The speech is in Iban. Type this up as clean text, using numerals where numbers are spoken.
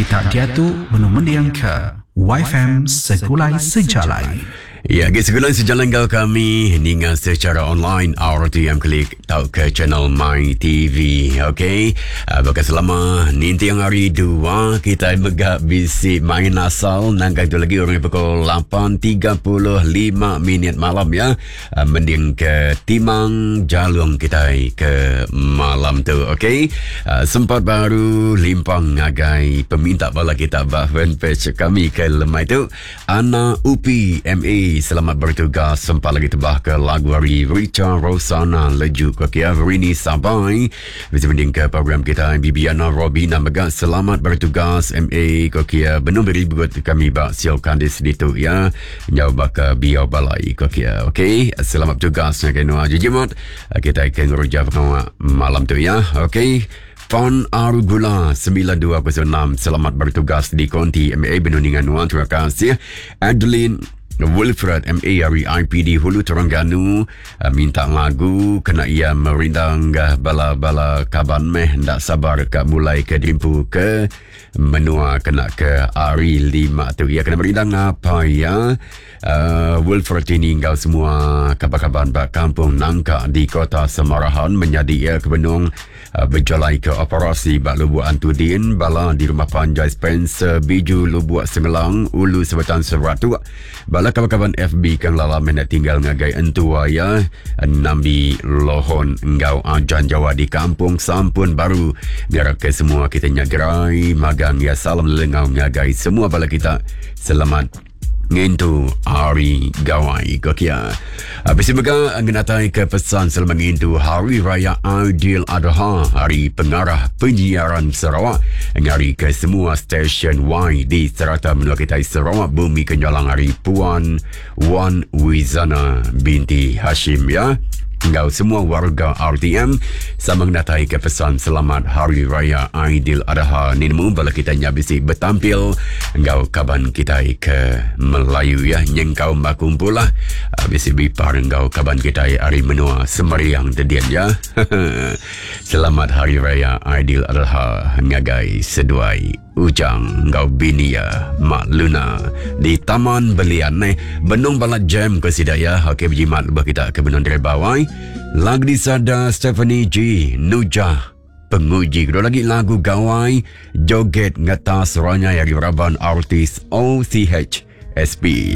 Kita diatu benung mendingka WiFM Segulai Sejalai. Ya, agi segulai sejalai enggau kami ninga secara online RTM Klik tauka channel My TV. Okey. Uh, baka selama ninting hari dua kita mega bisi main asal nangkai tu lagi orang pukul 8.35 minit malam ya. Uh, mending ke timang jalung kitai ke malam tu okey uh, sempat baru limpang ngagai peminta bala kita ba fanpage kami ke lemai tu Ana Upi MA selamat bertugas sempat lagi tebah ke lagu hari Richa Rosana leju ke kia Rini Sabai Bisa mending ke program kita Bibiana Robina mega selamat bertugas MA ko kia benung beribut kami ba Siol Kandis ditu ya. Nyau baka biau balai ko kia. Okey, selamat bertugas ngagai Noah Jejimot. Kita ke ngereja pengawa malam tu ya. Okey. Fon Argula 9206 selamat bertugas di Konti MA benung ninga nuan terima kasih. Adeline Wilfred MA ari IPD Hulu Terengganu eh, minta lagu kena ia merindang bala-bala kaban meh ndak sabar ka mulai ke diempu ke menua kena ke hari lima tu ia kena merindang apa ya uh, Wilfred ini enggau semua kaban-kaban ba kampung Nangka di kota Semarahan menyadi ia ke benung uh, bejalai ke operasi ba Lubuk Antudin bala di rumah panjai Spencer Biju Lubuk Sengelang Ulu Sebetan Seratuk Bala kaban-kaban FB ke ngelala meh enda tinggal ngagai entua iya Nambi Lohon enggau Ajan Jawa di Kampung Sampun Baru. Ngarapka semua kita nya gerai magang iya salam lelengau ngagai semua bala kita. Selamat ngintu Hari Gawai ko kia. Bisi mega ngenatai ke pesan selamat ngintu Hari Raya Aidil Adha Hari Pengarah Penyiaran Sarawak ngari ke semua stesen Y di serata menua kitai Sarawak bumi kenyalang ari Puan Wan Wizana binti Hashim ya enggau semua warga RTM sama ngenatai ke pesan selamat Hari Raya Aidil Adha ni nemu bala kita nya bisi betampil enggau kaban kitai ke Melayu ya nyengkaum bakumpul lah ah, bisi bipar enggau kaban kitai ari menua Semariang tedian ya Selamat Hari Raya Aidil Adha ngagai seduai Ujang enggau bini iya Mak Luna di Taman Belian eh benung balat jam ke sida iya okey bejimat lebuh kita ke benung driba wai lagu disada Stephanie G Nujah Penguji kedua lagi lagu Gawai Joget Ngetas Ranyai ari raban artis OCH SP.